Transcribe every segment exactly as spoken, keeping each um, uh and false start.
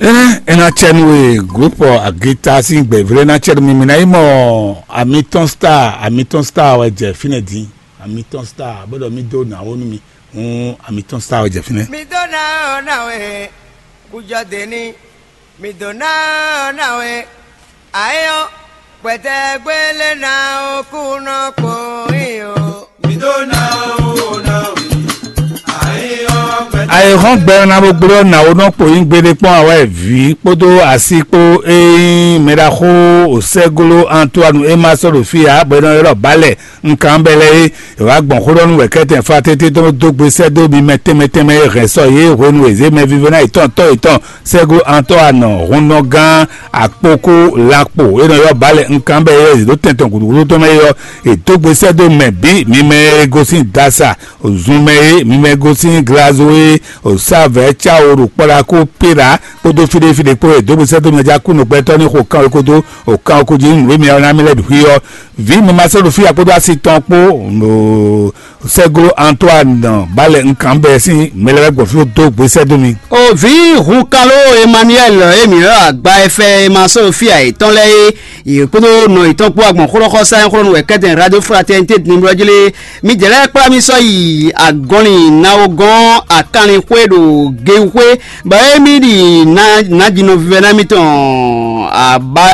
Ena cɛnu e groupe agita sín gbɛ̌vlɛ́ ná cɛnu mi mi ná yi mɔ amitɔn star amitɔn star wɛ jɛ fínɛ́ dín. Amitɔn star bó ɖɔ mí dó nǎ wó nú mi. Hǔn amitɔn star wɛ jɛ fínɛ́. Mi dó ná ɔ́ ná wɛ kújɔ dě ní. Mi dó ná ɔ́ ná wɛ ayé ɔ́ gbɛtɛgbélé ná ó kú nɔ kpó yí o. Ayihɔn gbɛ na bo gblɔ na wo nɔ kpo yin gbede kpɔn awɛ vi kpódó asi kpó eyin mɛɖaxó osɛglo Antoine ema sɔ ɖo fi ya bɔ e nɔ ylɔ balɛ nkan bɛ lɛ é. E wá gbɔn xó ɖɔ nú wɛ kɛtɛn fa tete tɔn dó gbe sɛ́ dó mi mɛ tɛnmɛ tɛnmɛ e hɛn sɔ yě hwenu e zě mɛ vívɛ́ná yětɔn tɔ́ yětɔn sɛglo Antoine hunnɔgán akpókó lakpo e nɔ ylɔ́ balɛ nkan bɛ yɛ zě dó tɛn tɔn gǔdúgúdú tɔn mɛ é ɔ́, è dó gbe sɛ́ dó mɛ bǐ mi mɛ e gosín dasa zun mɛ é, mi mɛ gosín glazo é, osávɛ̌ cáwo ɖo kpɔ́ɖakó péra kpódó fíɖéfíɖé kpó e dó gbe sɛ́ dó mɛ já kú nǔgbɛtɔ́ ní xo kanwekódó o kanwekó jí nǔ e mi ɔ́ ná mì lɛ́ bǐ xwí ɔ́. Vǐ mi ma sɔ́ ɖo fí ya kpódó asi tɔn kpó ɖo sɛglo Antoine balɛ nkan bɛ sín mɛ lɛ́ɛ gbɔn fí dó gbe sɛ́ dó mi. O vǐ Hunkalo Emmanuel, emi ɔ́ agba e fɛ e ma sɔ́ ɖo fí ya yětɔn lɛ́ɛ é, yě kpódó nɔ yětɔn kpó agbɔn xó ɖɔ xɔ sá nyɔ́xlɔ́nú wɛ kɛ́tɛn radio fraternité numéro jí lé. Mi jɛ lɛ́ɛ kplá mì sɔ́ yi agɔnlin nawogɔ́n akanlin xwé ɖo Gewuxwé, bɔ émí ɖi nǎjínɔ vívɛ́ná mítɔn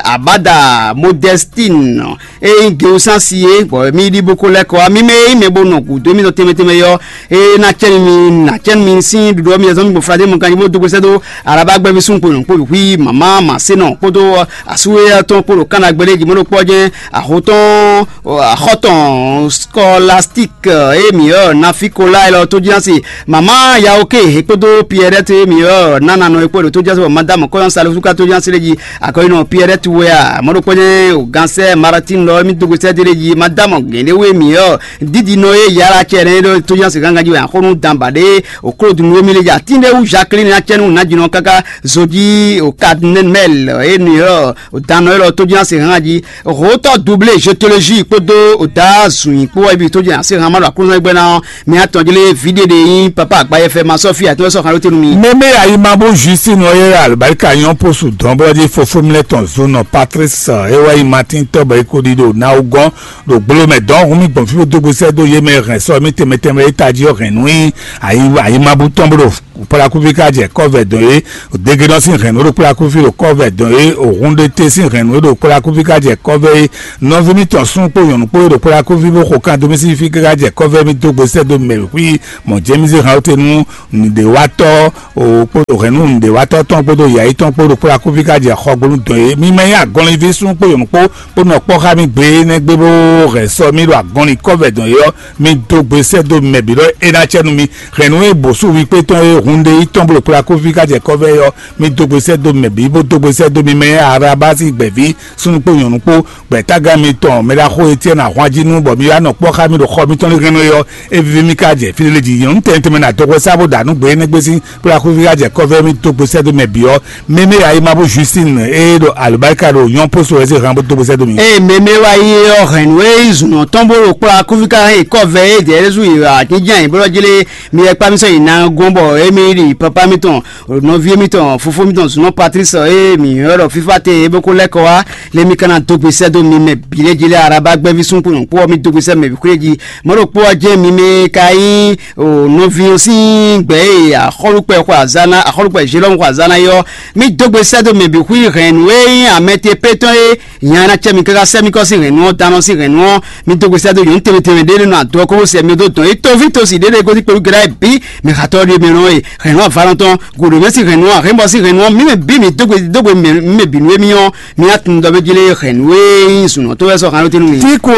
abada Modestine e nyí Gewusansi é, bɔ mí ɖi bó ko lɛ́ kɔ wá. Mí mɛ e nyí mɛ bo nɔ gǔdo émítɔn tɛnmɛ tɛnmɛ yɔ, e ná cɛ́ nú mi, ná cɛ́ nú mi sín ɖuɖu ɔ́, mi zɔ́n mi gbɔn Fladé mɔ ganjí bó dó gbe sɛ́ dó Araba gbɛ́ví súnnu kpo nyɔ̌kpo bǐ xwí mama Masé nɔ kpódó asúwéyɛ́ tɔn kpó ɖo Kána gbéɖé jí mɔ̌ ɖokpó ɔ́ jɛ́n axo tɔn axɔ́ tɔn Scolastique e mǐ ɔ́ Nafikola élɔ́ tó jí ná se mama Yaoke he kpódó Pierrette e mǐ ɔ́ nánanɔ e kpó ɖo tó jí ná se bɔ Madame Kɔyɔn Salofluka tó jí ná se ɖé jí akɔyinɔ Pierrette wɛ a mɔ̌ ɖokpó jɛ́n o gansɛ Maratine lɔ émí dógbe sɛ́ dé ɖé jí Madame Gɛ̌nɖéwé mǐ ɔ́ dídinɔ e Yala cɛ ɖé ɖó tó jí ná se gángan jí wɛ axɔ́nú danba ɖé o Claude Nuwémi lé jí atín ɖé wú Jacqueline acɛ́nú nǎjínɔ káká zojí o Cardinal e mǐ ɔ́ o dannɔ élɔ́ tó jí ná se hán jí Hotɔ doublé gétologie kpódó oda zun kpó wɛ bi tó jɛ ase hama ɖo aklúnɔ gbɛ ná ɔ́ mi atɔn jlé vidéde yín papa agbayɛfɛ ma sɔ́ fí atɔ́ sɔ́ xan ló tenu mi. Mɛmɛ ayi ma bó Justine ɔ́ yɛ albarika nyɔ́ posu dɔn bó jí fofó mi lɛ tɔn zunɔ Patrice e wá yi Martin tɔ́ bɔ é ko ɖi ɖo na wú gɔ́n ɖo gbolo mɛ dɔn hun mi gbɔn fí bó dó gbésɛ dó yé mɛ hɛn sɔ mi tɛmɛ tɛmɛ e tají ɔ́ hɛn nú yín ayi ayi ma bú tɔn bó ɖo Kplakuvi ka jɛ kɔvɛ dɔn é, Degenɔ sín hɛ̌nnu ɖo kplakuvi ɖo kɔvɛ dɔn é, Òhunɖete sín hɛ̌nnu ɖo kplakuvi ka jɛ kɔvɛ é, nɔví mitɔn súnnu kpó nyɔ̌nu kpó e ɖo kplakuvi bó xo kan dó mì sín fí káká jɛ kɔvɛ mì dó gbe sɛ́ dó mɛ xwí mɔ̌ jɛ́n mì zé han ɔ́ te nú nǔɖéwatɔ́ o kpódó hɛ̌nnu nǔɖéwatɔ́ tɔn kpódó yǎyi tɔn kpó ɖo kplakuvi ka jɛ xɔgbónú dɔn é. Mi ma nyí agɔnlíví súnnu kpó nyɔ̌nu kpó bó nɔ kpɔ́ xá mì gbe énɛ́ gbe bó hɛn sɔ mì ɖo agɔnlin kɔvɛ dɔn é ɔ́, mi dó gbe sɛ́ dó mɛ bǐ ɖɔ é ná cɛ nú mi. Hɛ̌nnu e bǒsú wi kpé tɔn e hun ɖe yi tɔn blo kplá kófí ká jɛ kɔ́vɛ é ɔ́, mi dó gbe sɛ́ dó mɛ bǐ, bó dó gbe sɛ́ dó mi mɛ e Arabasi gbɛ̌ví súnnu kpó nyɔ̌nu kpó, gbɛ̌tágán mitɔn mɛ ɖaxó Etiɛ́ni ahwan jí nú bɔ mi wá nɔ kpɔ́ xá mì ɖo xɔ mitɔn lé hɛn é ɔ́, é víví mì ká jɛ fí lé jí. Nyɔ̌nu tɛnmɛ tɛnmɛ ná dó hwɛ sá bó ɖa nǔ gbe énɛ́ gbé sín kplá kófí ká jɛ kɔ́vɛ mi dó gbe sɛ́ dó mɛ bǐ ɔ́, mɛmɛ ayi ma bó Justine e ɖo alobáríkà ɖo nyɔ́ póso wɛ zé han bó dó gbe sɛ́ dó mi. Ee mɛmɛ wa yi ɔ́ hɛn nú e zun ɔ́ tɔn bó ɖo kplá kófí ká hɛn kɔ́vɛ é dɛ̌ ɖésú yi atín jɛ́n bó lɔ́ jlé mi yɛ kpá mi sɔ́ yi na gɔ́n bɔ émí ɖi papa mitɔn nɔví mitɔn fofó mitɔn zunɔ Patrice e mǐ ylɔ́ ɖɔ fífá te é bó ko lɛ́ kɔ wá lé mi ka ná dó gbe sɛ́ dó mi mɛ bǐ lɛ́ jí lɛ́ Araba gbɛ́ví súnnu kpó nyɔ̌nu kpó ɔ́ mi dó gbe sɛ́ mɛ bǐ xwé jí. Mɔ̌ ɖokpó ɔ́ jɛ́n mi mɛ ka nyí nɔví ɔ́ sín gbɛ̌ e axɔ́lúkpɛ xɔ azǎn ná axɔ́lúkpɛ Zélɔ́mu xɔ azǎn ná é ɔ́, mi dó gbe sɛ́ dó mɛ bǐ xwí hɛ̌nnu e nyí amɛ te pé tɔn é Nya ná cɛ mi káká sɛ́ mì kɔ sín hɛ̌nnu ɔ́, danɔ sín hɛ̌nnu ɔ́, mi dó gbe sɛ́ dó nyɔ̌nu tɛnmɛ tɛnmɛ ɖé nɔ adɔ kó sɛ mi dó dɔn. É toví tosi ɖé ɖé gosín kpelú gɛ́ɖá bǐ, mi xatɔ́ ɖé mɛ nɔ e hɛ̌nnu avalɔn tɔn, gǔɖomɛ sín hɛ̌nnu ɔ́, ahɛ́nbɔ sín hɛ̌nnu ɔ́, mí mɛ bǐ mi dó gbe dó gbe mɛ mɛ bǐ nú émí ɔ́, mi ná tunwun ɖɔ mɛ jlé hɛ̌nnu e nyí zǔnɔ tó wɛ sɔ́ han ló tɛ́ nú mi. Tí kò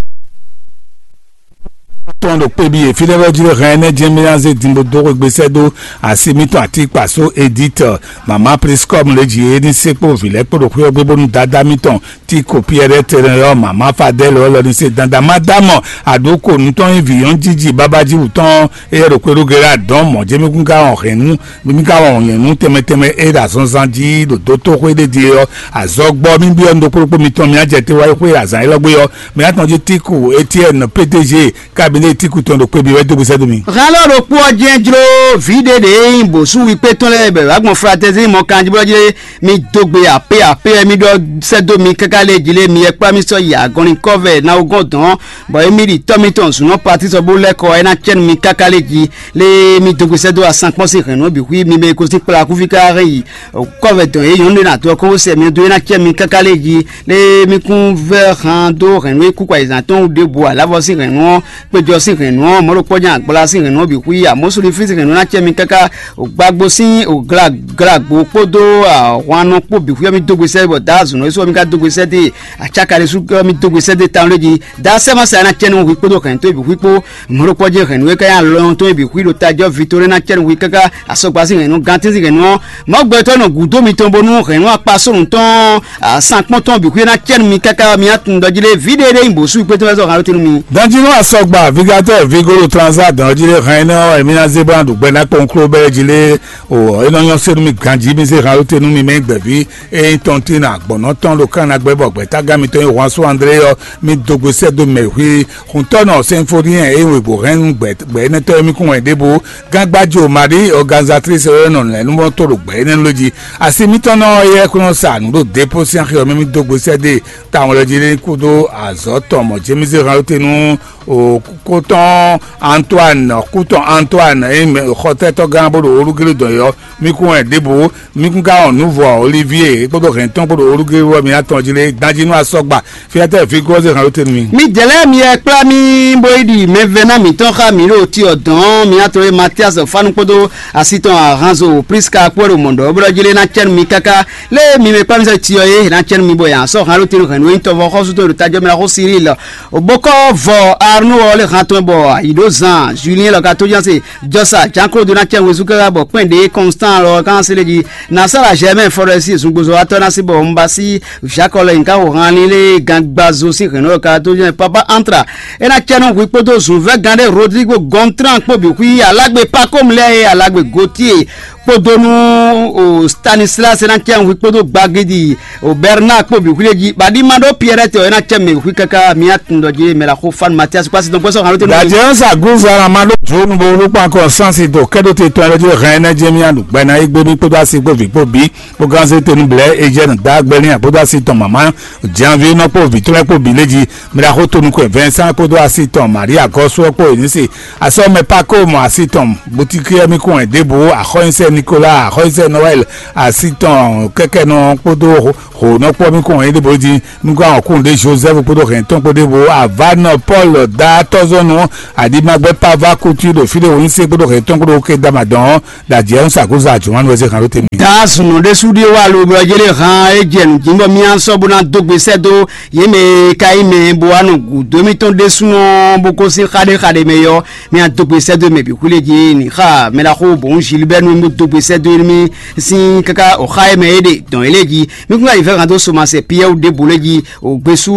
tɔn ɖo kpé bí e fínɛ́ wɛ jlé hɛn ɛnɛ́ jɛ́n mí ná zé din bó dó xwé gbé sɛ́ dó asi mítɔn atíkpasó Edith mama Priscom lě jí é ní sɛ́kpó vǐ lɛ́ɛ kpó ɖo xwé ɔ́ gbé bónú dadá mítɔn Tiko Piɛrɛ́ tɛnɛ ɔ́ mama Fadɛ́l ɔ́ lɔ ní se dandan má dá mɔ aɖǒ ko nǔ tɔn nyí vǐ nyɔ́nú jíjí bábájíwú tɔn éyɛ́ ɖo xwé ɖó ge ɖó adɔ̌n mɔ̌ jɛ́n mí kún ka wɔn hɛ̌nnu mí ka wɔn nyɛ̌nú tɛnmɛ tɛnmɛ é ɖo azɔnzan jí ɖo dótóxwé ɖé din é ɔ́, azɔgbɔ mí byɔ́ nú ɖokpó ɖokpó mitɔn mì á jɛ te wá yi xwé azǎn élɔ́ gbé ɔ́, mì á tɔn jí Tiko Etiɛ́ni P D G kabinɛ Etíku tɔn ɖo kpé bí wɛ dó gbèsè dó mi. Hɛn lɔ ɖokpó ɔ́ jɛ́n jló vǐ ɖé ɖě nyí bǒsúnwi kpé tɔn lɛ́ɛ bɔ è wǎ gbɔn Fratɛzín mɔ kanjí bó ɔ́ jlé mi dó gbe apé apé ɛ mi ɖɔ sɛ́ dó mi káká lé jí lé mi yɛ kplá mi sɔ́ yi agɔnlin kɔ́vɛ ná wó gɔ́n dɔn bɔ émí ɖi tɔ́ mitɔn zǔnɔ Patísɔ bó lɛ́ kɔ ɛ ná cɛ́ nú mi káká lé jí lé mi dó gbe sɛ́ dó asankpɔ́n sín hɛ̌nnu ɔ́ bǐ xwí mi mɛ e gosín kplá kúfí káká hɛn yi kɔ́vɛ dɔn yě nyɔ̌nu ɖé ná dó ɔ́ kó sɛ mi dó é ná cɛ́ mi káká lé jí lé mi kún vɛ́ han dó hɛ̌nnu e kú kɔ ayǐzán tɔn wú ɖěbǔ aláfɔ sín hɛ̌nnu ɔ́ kpéjɔ sín hɛ̌nnu ɔ́, mɔ̌ ɖokpɔ́ jɛ́n agbla sín hɛ̌nnu ɔ́ bǐ xwí, amɔ̌súɖifí sín hɛ̌nnu ná cɛ mi káká, gbagbo sín glagbo kpódó ahwannɔ kpó bǐ xwí ɔ́ mì dó gbe sɛ́ bɔ Daá zǔnɔ Yusuf ɔ́ mì ka dó gbe sɛ́ dó e, acáka ɖésú ɔ́ mì dó gbe sɛ́ dó e tawun lé jí. Daá sɛ́ ma sɛ ná cɛ nú hwi kpódó hɛ̌nnu towe bǐ xwí kpó, mɔ̌ ɖokpɔ́ jɛ́n hɛ̌nnu e ka nyí alɔnyɔ́ towe bǐ xwí ɖo tají ɔ́ ví towe ná cɛ nú hwi káká, asɔgba sín hɛ̌nnu, gantí sín hɛ̌nnu ɔ́, mɔ̌ gbɛtɔ́ nɔ gǔdo mitɔn bónú hɛ̌nnu akpasónǔ tɔn ɔ́, sankpɔ́n tɔn bǐ xwí ná cɛ nú mi káká, mi ná tunwun ɖɔ jí lé vǐ ɖé ɖé nyí bǒsú kpétɔ́ wɛ zɔ hǎn ló tɛ́ nú mi. Danjínú asɔgba vigatɛ́ vigolo transa dɔn jí lé hɛn énɛ́ ɔ́, èmi ná zé bó ná ɖu gbɛ ná kpɔn kló bɛ́ jí lé o, é nɔ nyɔ́ sé nú mi ganjí mi zé hǎn ló tɛ́ nú mi mɛ gbɛ̌ví. Ényí tɔn tín agbɔ̌nɔ tɔn ɖo kán ná gbɛ bɔ gbɛ̌tágán mitɔn e Juan André ɔ́, mi dó gbe sɛ́ dó mɛ xwé. Huntɔ́nɔ Sinfoniyɛn e wěgbó hɛn nú gbɛ gbɛ énɛ́tɔ́ e mì kún wɛ ɖěbǔ. Gángbájo Marie organisatrice e nɔ lɛ̌númɔtɔ́ ɖo gbɛ énɛ́ ló jí. Asi mitɔn nɔ yɛ kún nɔ sa nǔ ɖo depo sín axi ɔ́ mɛ mì dó gbe sɛ́ dó tawun lɛ jí ní kúdó azɔ̌ tɔn mɔ̌ jémízé hán te nú kótɔn Antoine kútɔn Antoine e xɔtɛ́tɔ́ gán bó ɖo olúgélé dɔn yɔ. Mi kún wɛ ɖěbǔ mi kún ka wɔn nǔ vɔ Olivier kpódó hɛn tɔn kpódó olúgélé wɔ mi atɔn jí lé danjí nú asɔgba. Fiatɛ fi gɔ́zé hàn ló tenu mi. Mi jɛ lɛ́ɛ mi yɛ kplá mì bó yi ɖi mɛvɛ́ná mǐtɔn xá mǐ ɖo ti ɔ́ dɔn mǐ atɔn e Matias Fanu kpódó asi tɔn Ahanzo Priska kpó ɖo mɔ̌ ɖɔ bó ɖɔ jí lé ná cɛ́ nú mi káká lé mi mɛ kpá mi sɔ́ ti ɔ́ é ná cɛ́ nú mi bɔ yǎ sɔ́ hàn ló tenu hɛn nú nyí tɔvɔ xɔ́sú tɔn ɖo tajɔ mɛ xó Siril. Bókɔ vɔ Arnú ɔ́ lé hàn tɔn bɔ ayǐ ɖó zan Julien lɔ ka tó ján se Jɔsa Jean Claude ná cɛ wezú káká bɔ kpɛ́n ɖě Constant lɔ ká se lé jí. Nasara Germain Forest zungbozɔwatɔ́ ná sí bɔ un ba sí Jacques lɛ nyǐká xo han lílé gangbazo sín hɛ̌nnu lɔ ka tó jɛ papa Antra. É ná cɛ nú hwi kpódó zunvɛ́gán ɖé Rodrigo Gontran kpó bǐ xwí alágbe Pacom lɛ́ɛ e alágbe Gautier kpódó nú o Stanislas é ná cɛ nú hwi kpódó gbagidi o Bernard kpó bǐ xwí lé jí. Baɖí ma ɖó Pierrette ɔ́ é ná cɛ mɛ bǐ xwí káká mi atundɔ jí mɛ la xo fan Mathias kpasi dɔn gbɛsɔ hàn ló tenu. Dajɛ sa gunzara ma ɖó dro nu bo ló kpan kɔ sansi do kɛɖo te tɔn lɛ jí hɛn ɛnɛ jɛ mi anu gbɛna yi gbé mi kpódó asi kpó vi kpó bi kpó gánzé tenu blɛ ejɛ nu da gbɛ ní akpódó asi tɔn mama janvi nɔ kpó vi tɔn lɛ kpó bi lé jí mi la xo tonu kɔ Vincent kpódó asi tɔn Maria gɔsɔ kpó enisi asɔ mɛ pa kó mɔ asi tɔn butiki mi kún ɛ débò axɔnyisɛ Nicolas axɔnyisɛ Noël asi tɔn kɛkɛ nɔ kpódó xo nɔ kpó mi kún ɛ débò jí Nukún àwọn kúndé Joseph kpódó hɛn tɔn kpódé bo avánɔ Paul dá tɔzɔnu adimagbɛ pava kutu ɖo fí ɖé wònyí se kpódó hɛn tɔn kpódó ké dama dɔn dajɛ ń sàkóso àjùmọ́nú ẹsẹ̀ kan ló tẹ̀mí. Daa sùnù ɖésú ɖíe wá lo bɔ jélé hàn é jɛ nǔ jí bɔ mía sɔ́ bó ná dó gbe sɛ́ dó yě mɛ e ka nyí mɛ bo wá nɔ gǔdo émítɔn ɖésúnɔ bó kó sín xaɖéxaɖé mɛ yɔ mía dó gbe sɛ́ dó mɛ bǐ xwlé jí ní xa mɛ ɖaxó bǒ ń Gilbert nú bó dó gbe sɛ́ dó émí sín káká òxá é mɛ é ɖe dɔn é lé jí mí kún ká yi fɛ́ hàn dó somasɛ Piyɛ́ɛ ɖěbǔ lé jí ògbésú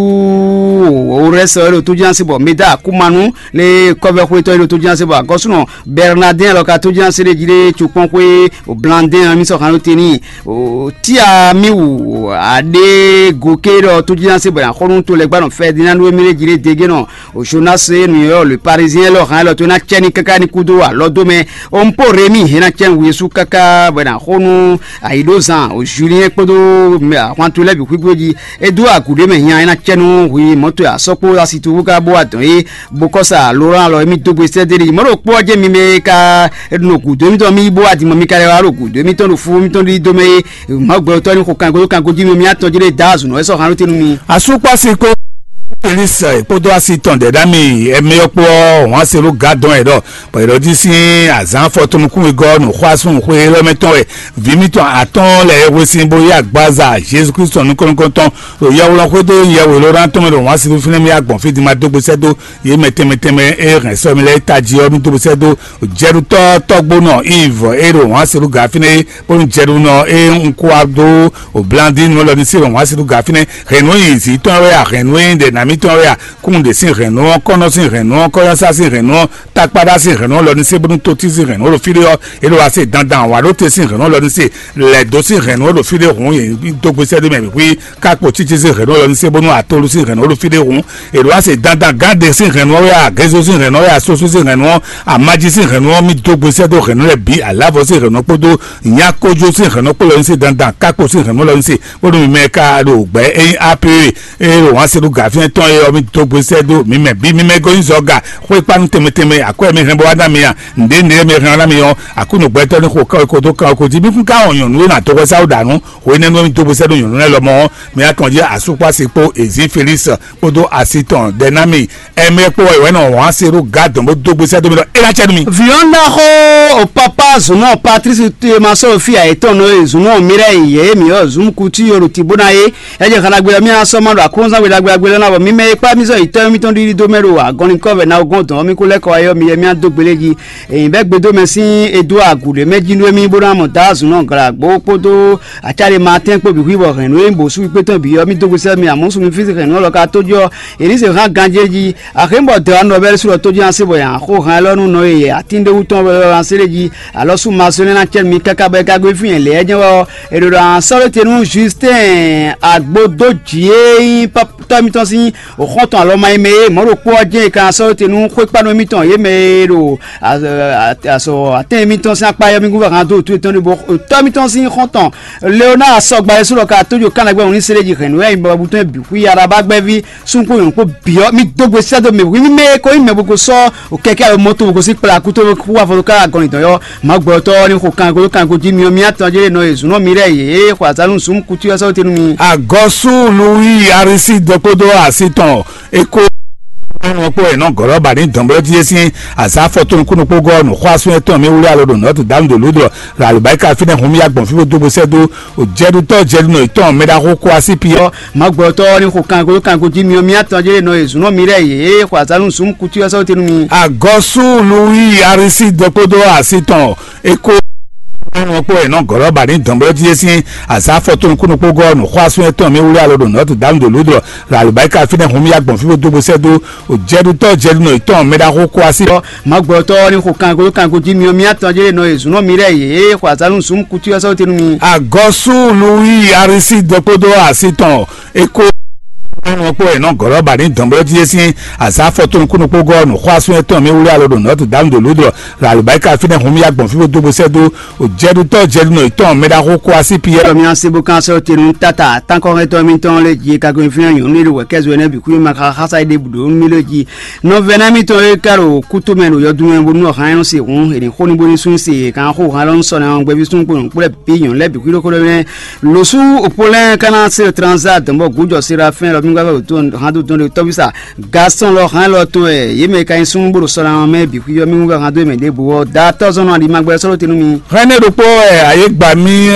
òrɛsɛ ɔ́ ɖo tójúná sí bɔ meda akúmanu lé kɔ́vɛ́xwétɔ́ e ɖo tójúná sí bɔ agɔ́súnɔ Bɛrnadɛ́n lɔ ka tójúná sí ɖé jí ɖé cukpɔ́n xwé o Blandɛ́n ɔ́ mí sɔ́ hàn ɖó te n'i o tíamiwu aɖé gòkè ɖɔ tójúná sí bɔ axɔ́nú to lɛ́ gba nɔ Fɛdinand wémí ɖé jí ɖé dégé nɔ o Jonas e nǔ ylɔ́ le Parisien lɔ hàn lɔ tó ná cɛ ní káká ní kúdó alɔ dó mɛ o n pó Rémi hɛn ná cɛ nǔ Yesu káká bɔ ná xó nú ayǐɖózan o Julien kpódó ahwantu lɛ́ɛ bǐ xwígbó jí. É dó agǔ ɖé mɛ hian é ná cɛ nú hwi mɔ̌to asɔkpó asituwu ká bó wá dɔn é bó kɔ́ sa Laurent alɔ émí dó gbe sɛ́ dé ɖi mɔ̌ ɖo kpó ɔ́ jẹ́ mi mɛ ka nɔ gǔdo émítɔn mí bó wá dimɔ mi ka lɛ wá ɖo gǔdo émítɔn ɖo fú émítɔn ɖi dó mɛ é Mawu gbɛtɔ́ ní xo kango kango jí mi mí atɔn jí ɖé dá azǔnɔ é sɔ́ hàn ló tɛnu mi. Asúkpási kó Félix kpódó asi tɔn dɛ̌ ɖ'ámì ɛmɛ ɔ́ kpó ɔ́, wǎn se ɖó gǎ dɔn ɛ ɖɔ bɔ è ɖɔ jí sín azǎn afɔtɔnukúnwegɔ́ nǔxwásún xwé élɔ́ mɛ tɔn wɛ vǐ mitɔn atɔ́ɔ́n lɛ́ɛ e hwe sín bó yí agbaza Jezu Klísu tɔn nukɔn-nukɔntɔn ɖo yɛhwlɔ́n xwedó yɛhwe Lorán tɔn mɛ ɖo wǎn si fínɛ́ mì agbɔ̌n fí din ma dó gbe sɛ́ dó yě mɛ tɛnmɛ tɛnmɛ e hɛn sɔ́ mi lɛ́ɛ tají ɔ́ mì dó gbe sɛ́ dó jɛɖutɔ́ tɔ́gbónɔ Iv e ɖo wǎn si ɖo gǎ fínɛ́ é bónú jɛɖunɔ e un kó wá dó o Blandín nú lɔ ní sí ɖo wǎn si ɖo gǎ fínɛ́ hɛn nǔ e nyi zǐn tɔn wɛ a hɛn nǔ e nyí ɖɛ nǎ Mitɔn wɛ a? Kúnɖe sín hɛ̌nnu ɔ́, kɔ́nɔ sín hɛ̌nnu ɔ́, kɔ́yɔ́sá sín hɛ̌nnu ɔ́, takpaɖá sín hɛ̌nnu ɔ́, lɔ ní se bónú totí sín hɛ̌nnu ɔ́ ɖo fí ɖé ɔ́, é ɖo wá se dandan awǎɖóte sín hɛ̌nnu ɔ́, lɔ ní se lɛ̌dó sín hɛ̌nnu ɔ́ ɖo fí ɖé hǔn yě dó gbe sɛ́ ɖó mɛ bǐ xwí. Kákpo títí sín hɛ̌nnu ɔ́, lɔ ní se bónú atolu sín hɛ̌nnu ɔ́ ɖo fí ɖé hǔn. È ɖo wá se dandan gánɖe sín hɛ̌nnu ɔ́ wɛ a? Gézo sín hɛ̌nnu ɔ́ wɛ a? Sósú sín hɛ̌nnu ɔ́, amájí sín hɛ̌nnu ɔ́, mì dó gbe sɛ́ dó hɛ̌nnu lɛ́ɛ bǐ, alǎvɔ sín hɛ̌nnu ɔ́ kpódó nyákójó sín hɛ̌nnu ɔ́ kpó lɔ ní se dandan, kákpo sín hɛ̌nnu ɔ́ lɔ ní se, bónú mi mɛ ka ɖo gbɛ̌ ényí A P E e ɖo wǎn se ɖo gǎfínɛ́ tɔn é ɔ́, mì dó gbe sɛ́ dó mǐ mɛ bǐ. Mi mɛ gɔ́ nyí zɔga xwékpánu tɛnmɛ tɛnmɛ, akwɛ́ mi hɛn bɔ wá ná mi a? Nǔɖé nǔɖé mi hɛn wá ná mi ɔ́, Aklúnɔ gbɛtɔ́ ní xo kán ko dó kán ko jí. Mi kún ka wɔn nyɔ̌nu e nǎ dó hwɛsá ó ɖa nǔ hwenɛ́nu e mi dó gbe sɛ́ dó nyɔ̌nu lɛ́ɛ lɔmɔ̌ ɔ́, mi wá tɔn jí asúkpási kpó Ezí Felísi kpódó asi tɔn Dɛnámi. Ɛmɛ kpó wɛ wɛ nɔ wǎn se ɖó gǎ dɔn bó dó gbe sɛ́ dó mi ɖɔ é ná cɛ nú mi. Viɔn ɖaxó o papa zunɔ Patrice Théma sɔ́ fí ayětɔn nɔ e zunɔ Mireille yě mi ɔ zunkuti yoro tibona é. Ɛ jɛ xanagbe ɔ́ mì asɔ ma ɖo aklúnzán gbe ɖagbe ɖagbe lɛ́ɛ ná bɔ mi mɛ e kpá mì zɔ yi tɔ́ mitɔn ɖiɖi dó mɛ ɖo agɔnlinkɔ vɛ na gɔn dɔn ɔ́ mi kó lɛ́ kɔ wá yɔ mi yɛ mì adó gbelé jí. Èyí bɛ́ gbedó mɛ sín edo agǔɖé mɛ jí nú émí bó ná mɔ dǎ zunɔ glǎgbó kpódó acáɖe ma tɛ́n kpó bǐ xwí bɔ hɛ̌nnu e nyí bǒsú kpé tɔn bǐ ɔ́ mì dó gbe sɛ́ mi amɔ̌ sun mi fí hɛ̌nnu ɔ́ lɔ ka tó jɔ. Èlíse hán ganjé jí. Axémbɔ dɛ ɔ́ nɔ bɛ́ ɖésú ɖɔ tójí ná se bɔ yǎ xó han élɔ́ nú nɔ e atín ɖé wú tɔn wɛ ɔ́ ná se ɖé jí. Alɔ sú masɔ́ énɛ́ ná cɛ nú mi káká bɔ é ka gosín fí nyɛ lɛ̌ jɛ́n wɛ ɔ́, è ɖo ɖɔ sɔ́ ɖé te nú Justin Agbodóji e nyí tɔ́ mitɔn sín xɔ́ntɔn alɔ ma yi mɛ e mɔ̌ ɖokpó ɔ́ jɛ́n è ka ná sɔ́ ɖé te nú xwékpánɔ émítɔn yě mɛ e ɖo azɔ atɛn émítɔn sín akpá yɔ́mígún vɛ han dó wǔtu yětɔn ɖé bɔ tɔ́ mitɔn sín xɔ́ntɔn Leonard sɔgba Yɛsu ɖɔ ka tójó kánɛgbɛ́ wǔ ní se ɖé ji hɛ̌nnu e nyi bɔ butɔn bǐ xwí Arabá gbɛ́ví súnxó nyɔ̌nu kpó bǐ ɔ́, mì dó gbe sɛ́ dó mɛ wǐ mì mɛ e ko nyí mɛ bó ko sɔ́ kɛkɛ́ alo mɔto bó ko sí kplá kú tó kú wá fɔ ká agɔnlin tɔn yɔ. Mǎ gbɔtɔ́ ní xo kango kango jí mi ɔ́, mi atɔn jɛ nɔ e zǔnɔ mi lɛ́ɛ yě xɔ azǎn nú zǔn kutu ɔ́ sɔ́ tenu mi. Agɔsú Luwi Arisi dɔkpódó asi tɔn e ko nɔ kpó ɛ nɔ gɔlɔ ba ní dɔnblɔ jí sín azǎ fɔ tó nukúnnú kpó gɔ́ nǔ xɔ asún etɔn mi wúlé alo ɖo nɔ́ tu dǎnù ɖo lǔdɔ ɖo alǔbáríkà fínɛ́ hun mi agbɔn fí bó dó bó sɛ́ dó. Jɛɖutɔ́ jɛɖunɔ yětɔn mɛ ɖaxó kó así pi ɔ́. Mǎgbɔtɔ́ ní xo kango kango jí mi ɔ́, mi atɔn jɛ nɔ e zǔnɔ mi lɛ́ɛ yě xɔ azǎn nú zǔn kutu ɔ́ sɔ́ tenu mi. Agɔsú Luwi Arisi dɔkpódó asi tɔn e ko nɔ kpó ɛ nɔ gɔlɔ ba ní dɔnblɔ jí sín azǎ fɔ tó nukúnnú kpó gɔ́ nǔ xɔ asún etɔn mi wúlé alo ɖo nɔ́ tu dǎnù ɖo lǔdɔ ɖo alǔbáríkà fínɛ́ hun mi agbɔn fí bó dó bó sɛ́ dó. Jɛɖutɔ́ jɛɖunɔ yětɔn mɛ ɖaxó kó así ɔ́. Mǎgbɔtɔ́ ní xo kango kango jí mi ɔ́, mi atɔn jɛ nɔ e zǔnɔ mi lɛ́ɛ yě xɔ azǎn nú zǔn kutu ɔ́ sɔ́ tenu mi. Agɔsú Luwi Arisi dɔkpódó asi tɔn e ko nɔ kpó ɛ nɔ gɔlɔ ba ní dɔnblɔ jí sín azǎ fɔ tó nukúnnú kpó gɔ́ nǔ xɔ asún etɔn mi wúlé alo ɖo nɔ́ tu dǎnù ɖo lǔdɔ ɖo alǔbáríkà fínɛ́ hun mi agbɔn fí bó dó bó sɛ́ dó. Jɛɖutɔ́ jɛɖunɔ yětɔn mɛ ɖaxó kó así pi ɔ́. Mi asi bó kan sɔ́ tenu tata tankɔ́hɛntɔ́ mitɔn lé jí kagbɛn fínɛ́ nyɔ̌nu ní ɖo wɛ̌kɛ́zɔ ɛnɛ bǐ kú ma xa xása ɖěbǔ ɖó nú mì lé jí. Nɔvɛ́ná mitɔn e ka ɖo kútomɛ ɖo yɔdun mɛ bónú ɔ̀hán nyɔ́ se hǔn, è nǐ xo ní bó ní sú se kan xó hán lɔ nú sɔ ná gbɛ́ví sún kpo nyɔ̌kú lɛ́ɛ bǐ nyɔ̌nu lɛ́ɛ bǐ xwí ɖokpó ɖɔmɛ. Lǒsú òpó lɛ́ɛ ka ná se transa dɔ̌nbɔ gǔjɔ Serafɛ́n lɔ mí gbɛ́ wětó hán dó dɔn ɖe tɔ́bísà Gasɔn lɔ hán lɔ tɔn wɛ yě mɛ ka nyí sún bó ɖo sɔ ná mɛ bǐ xwí ɔ́ mí wú vɛ hán dó mɛ ɖěbǔ ɔ́ da tɔ́zɔ́n nɔ aɖimagbɛ sɔ́ ɖó te nú mi. Hɛn ne ɖokpó wɛ ayé gba mì